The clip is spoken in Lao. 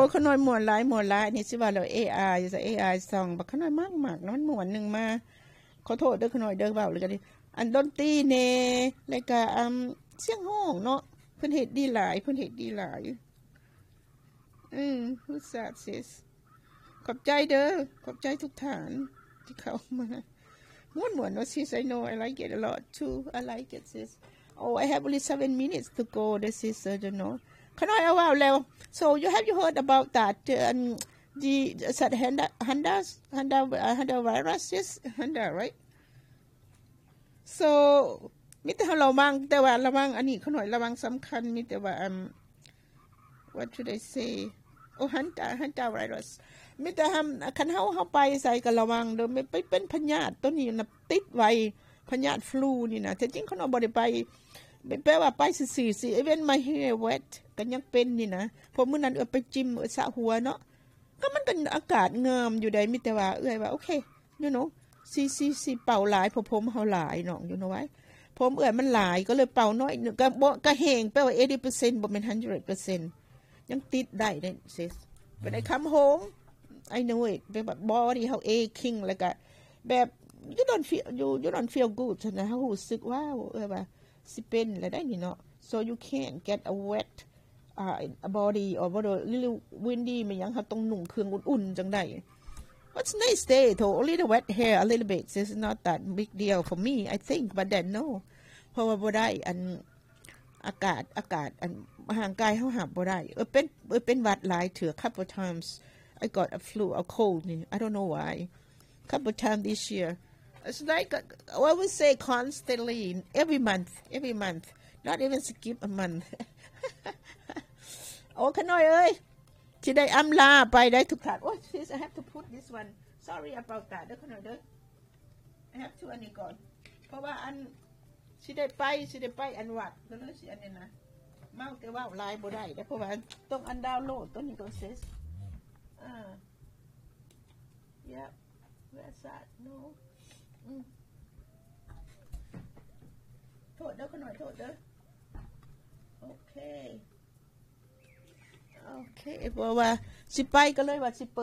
ໂອ້ ຂະນ້ອຍມ່ວນຫຼາຍ ມ່ວນຫຼາຍ ອັນນີ້ຊິວ່າແລ້ວ ເອໄອ ເອໄອສອງ ບັກຂະນ້ອຍມັກໆ ມັນມ່ວນ ໜຶ່ງມາ ຂໍໂທດເດີຂະນ້ອຍເດີ ເວົ້າແລ້ວກໍດີ ອັນດົນຕີແດ່ ແລ້ວກໍ ອາ ສຽງຮ້ອງເນາະ ເພິ່ນເຮັດດີຫຼາຍ ເພິ່ນເຮັດດີຫຼາຍ. ອືມ Who's that, sis? ຂອບໃຈເດີ ຂອບໃຈທຸກທ່ານທີ່ເຂົ້າມາ. ມ່ວນໆເນາະ sis. I know, I like it a lot too. I like it, sis. Oh, I have only seven minutes to go, the sister, you know. ຂະນ້ອຍເອົາເວົ້າແລ້ວ. So, you have you heard about that, um, the, that Hanta, Hanta, Hanta, uh, Hanta virus, sis? Hanta, right? So ມີແຕ່ເຮົາລະວັງ ແຕ່ວ່າລະວັງອັນນີ້ ຂະນ້ອຍລະວັງສຳຄັນ ມີແຕ່ວ່າ ອາ what should I say? ໂອ Hanta, Hanta virus. ມີແຕ່ ຄັນເຮົາ ເຮົາໄປໃສກໍລະວັງເດີ ໄປເປັນພະຍາດໂຕນີ້ນະ ຕິດໄວ ພະຍາດຟລູນີ້ນະ. ແທ້ຈິງຂະນ້ອຍບໍ່ໄດ້ໄປ ແປວ່າໄປຊື່ໆ even my hair wet ກໍຍັງເປັນນີ້ນະ ເພາະມື້ນັ້ນເອື້ອຍໄປຈິມ ເອື້ອຍສະຫົວເນາະ ກໍມັນກໍອາກາດງາມຢູ່ໃດ໋ ມີແຕ່ວ່າເອື້ອຍວ່າ ໂອເຄ you know ຊິ ຊິ ຊິເປົ່າຫຼາຍ ເພາະຜົມເຮົາຫຼາຍນ້ອງ you know why ຜົມເອື້ອຍມັນຫຼາຍ ກໍເລີຍເປົ່າໜ້ອຍໜຶ່ງ ກໍບໍ່ ກໍແຫ້ງ ແປວ່າ eighty percent ບໍ່ແມ່ນ hundred percent ຍັງຕິດໄດ້ເດ້ sis. When I come home, I know it ແບບວ່າ body ເຮົາ aching ແລ້ວກໍແບບ you don't feel, you, you don't feel good ຫັ້ນນະ ເຮົາຮູ້ສຶກ ວ້າວ ເອື້ອຍວ່າ ຊິເປັນແລ້ວໄດ໋ນີ້ເນາະ. So you can't get a wet, uh, body or what, a little windy ແມ່ນຫຍັງ ເຮົາຕ້ອງນຸ່ງເຄື່ອງອຸ່ນໆ ຈັ່ງໄດ້. What's nice day though? Only the wet hair a little bit. It's not that big deal for me, I think, but then no. ເພາະວ່າບໍ່ໄດ້ ອັນ ອາກາດ ອາກາດ ອັນ ຮ່າງກາຍເຮົາຮັບບໍ່ໄດ້. ເອີ ເປັນ ເອີ ເປັນຫວັດຫຼາຍເທື່ອ couple times. I got a flu, a cold ນີ້ I don't know why. Couple times this year. It's like, uh, I would say constantly, every month, every month. Not even skip a month. ໂອ້ ຂະນ້ອຍເອີຍ ຊິໄດ້ອຳລາໄປໄດ໋ທຸກທ່ານ. ໂອ້ຍ sis, I have to put this one. Sorry about that ເດີຂະນ້ອຍເດີ. I have to ອັນນີ້ກ່ອນ ເພາະວ່າອັນ ຊິໄດ້ໄປ ຊິໄດ້ໄປອັນວັດ ກໍເລີຍຊິອັນນີ້ນະ ເມົາແຕ່ເວົ້າຫຼາຍບໍ່ໄດ້ເດ້ ເພາະວ່າຕ້ອງອັນດາວໂຫຼດຕົວນີ້ກ່ອນ sis. ອ່າ Yep. Where's that? No. ອືມ ໂທດເດີ ຂະນ້ອຍໂທດເດີ. ໂອເຄ ໂອເຄ ເພາະວ່າຊິໄປ ກໍເລີຍວ່າຊິເປີດ